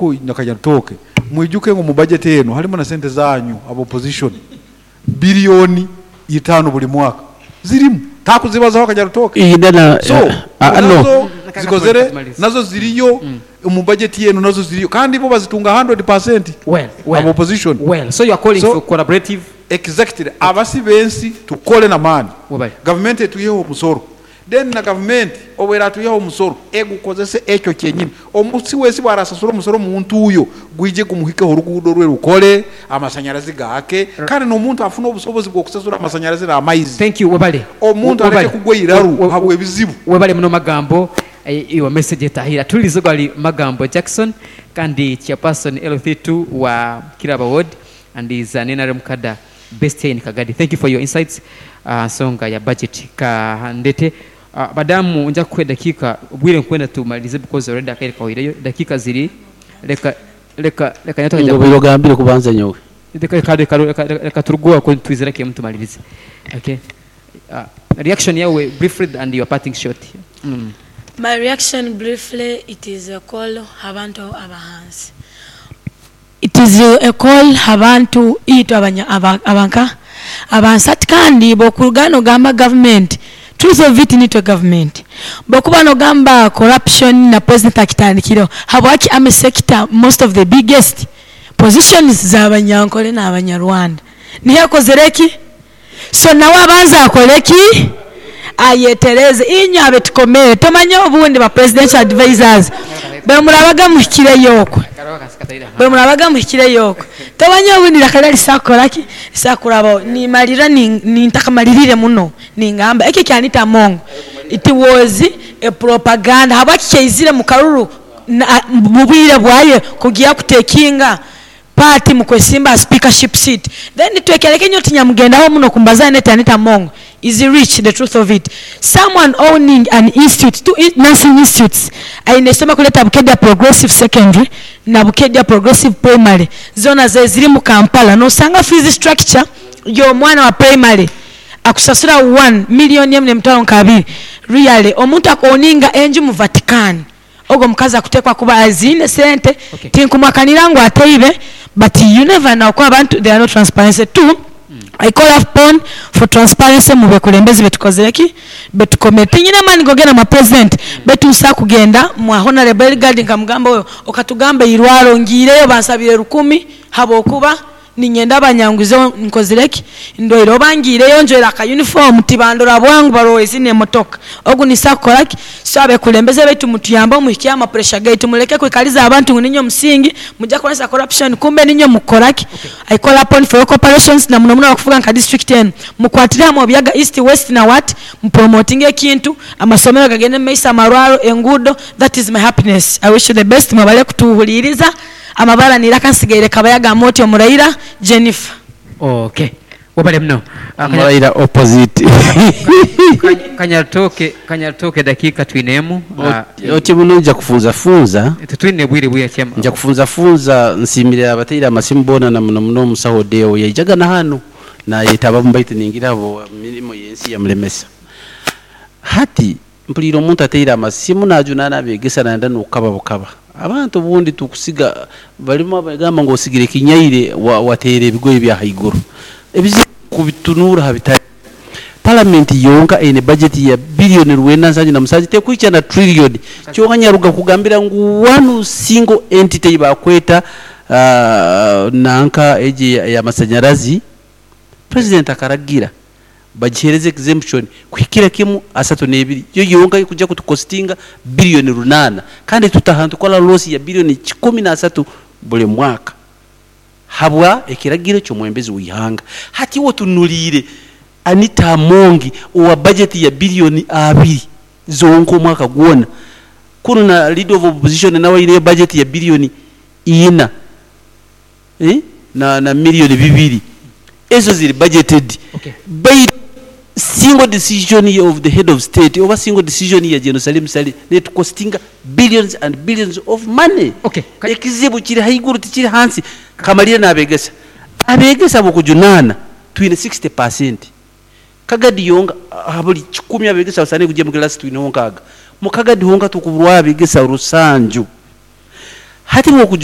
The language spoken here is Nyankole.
Nk'oku Nakanyarutooke, mwijuke ngu mu budget eno harimu na sente zanyu aba opposition billion 5 buri mwaka zirimu takuzibazaho Kanyarutooke. So nazo zikozere nazo ziriyo omu budget eno nazo ziriyo kandi bo bazitunga 100% aba opposition. So exactly abasi b'ensi tukore n'amaani gavumenti etwiheho omusoro. Then na gavumenti obu eratwihaho omusoro egukozese ekyo kyenyini. Omusi w'ensi bu arasasura omusoro omu ntuuyo gwije gumuhikeho oruguudo rwe rukore, amasanyarazi gaake kandi n'omuntu afune obusobozi bw'okusasura amasanyarazi n'amaizi. Thank you webale. Omuntu aleke Webale. kugwa eiraru habw'ebizibu. Webale muno Magambo your message etahire. Atuhulirize ogu ari Magambo Jackson kandi chairperson LC2 wa Kiraba ward and is an nrm cadre based here in Kagadi. Thank you for your insights aha nsonga ya budget. Ka ndete badamu nja kukuha edakiika obwire nkwenda tumalirize because already akaire kahweireyo edakiika ziri leka leka leka nyowe Ngu obaire ogambire kubanza nyowe. Leka leka leka leka leka turuge aho twizire kemu tumalirize. Okay. Reaction yawe briefly and your parting shot. My reaction briefly it is a call habantu abahansi. It is a call habantu itwe abanya aba abanka abansi hati kandi bwokuruga nogamba government truth of it nitwe government bwokuba nogamba corruption na president akitandikireho habwaki army sector most of the biggest positions za banyankore na banyarwanda niho ekozire ki so nawe abanze akore ki ayetereze inywe abetukomere tomanya obundi ba presidential advisers bwemurabaga muhikireyo okwe bwemurabaga muhikireyo okwe tomanya obundi iraka rya risakukoraki risakurabaho nimarira nintakamaririire muno ningamba eki ekya Anita Among it was a propaganda habwaki kyaizire mukaruru mubwire bwaye kugiya kutekinga part mukwesimba aha speakership seat then twekereke nyowe tinyamugendaho muno kumbaza Annet Anita Among is rich the truth of it someone owning an institute two nursing institutes aine isomero kurikwetwa Bukedea Progressive Secondary na Bukedea Progressive Primary zoona ziri mu Kampala nosanga fees structure yomwana wa primary akusasura one million emu nemitwaro nka abiri really omuntu aku owninga enju mu Vatican Ogwo omukazi akutekwa kuba aziine sente tinkumuhakanira ngu ateibe but you never know kuba abantu they are not transparency two I call upon for transparency mubekulembezi betukozire ki betukomere tinyine amani gogenda mwa president beitu nsobola kugenda mwa honorable Eligard nkamugamba oyo okatugamba eirwaro ngiireyo bansabire rukumi habwokuba Niinyenda banyanguzeho nkozire ki? Ndwaire oba ngiireyo njwaire aka uniform tibandora bwangu barora ezi n'emotoka. Ogu ninsobola kukora ki? So abekulembeze baitu mutuyambe muhikye aha pressure gaitu mureke kwikariza abantu ngu niinywe musingi mugye kukoresa corruption kumbe niinywe mukukora ki? I call upon for your cooperations na muno muno abakufuga nka district enu mukwatire hamwe Obuyaga East, West na what mupromotinge ekintu amasomero gagende mumaiso amarwaro, enguudo that is my happiness. I wish you the best mwebale kutuhuriiriza. Amabara n'eiraka nsigaire Kabayaga Amooti Omuraira Jennifer. Ok webale muno. Omuraira opposite. Kanyarutooke Kanyarutooke edakiika twine emu. Oti muno nja kufunzafunza. Titwine bwire bwingi chairman. Nja kufunzafunza nsiimire abateire amasimu boona na muno muno omusaho Odeo yaijaga na hanu nayetabamu baitu ningira habwa mirimo y'ensi yamulemesa. Hati Mpuliire omuntu ateire amasimu najunaana abegesa nayenda nokukaba bukaba. Abantu obundi tukusiga balimu abagamba ngu osigire ekinyaire wateera ebigoye bya haiguru. Ebizibu kubitunuura ha bitari. Palamenti yonka eine bajeti ya billion 97 tekuhikya na trillion. Kyonka nyaruga kugambira ngu one single entity eyibakweta nanka egi eyamasanyarazi President akaragira bagihereze exemption kuhikira kimu 32 yo yonka ekuja kutukostinga billion 8 kandi tutaha nitukora loss ya billion 130 buri mwaka habwa ekiragiro ky'omwembezi w'eihanga. Hati iwe otunuliire Anita Amongi owa budget ya billion 2 zonka omwaka gwona kunu na leader of opposition nawe aineyo budget ya billion 4 na million 2 ezo ziri budgeted baitu single decision of the head of state oba single decision ya Gen Salim Saleh netukostinga billions and billions of money. Ekizibu kiri haiguru tikiri hansi. Kamalire nabegesa, abegesa abokujunaana twine 60%, Kagadi yonka aha buri kikumi abegesa basaanire kugira omu class twineho nkaaga, mu Kagadi honka tukuburwaho abegesa rusanju. Hati bwokujuna.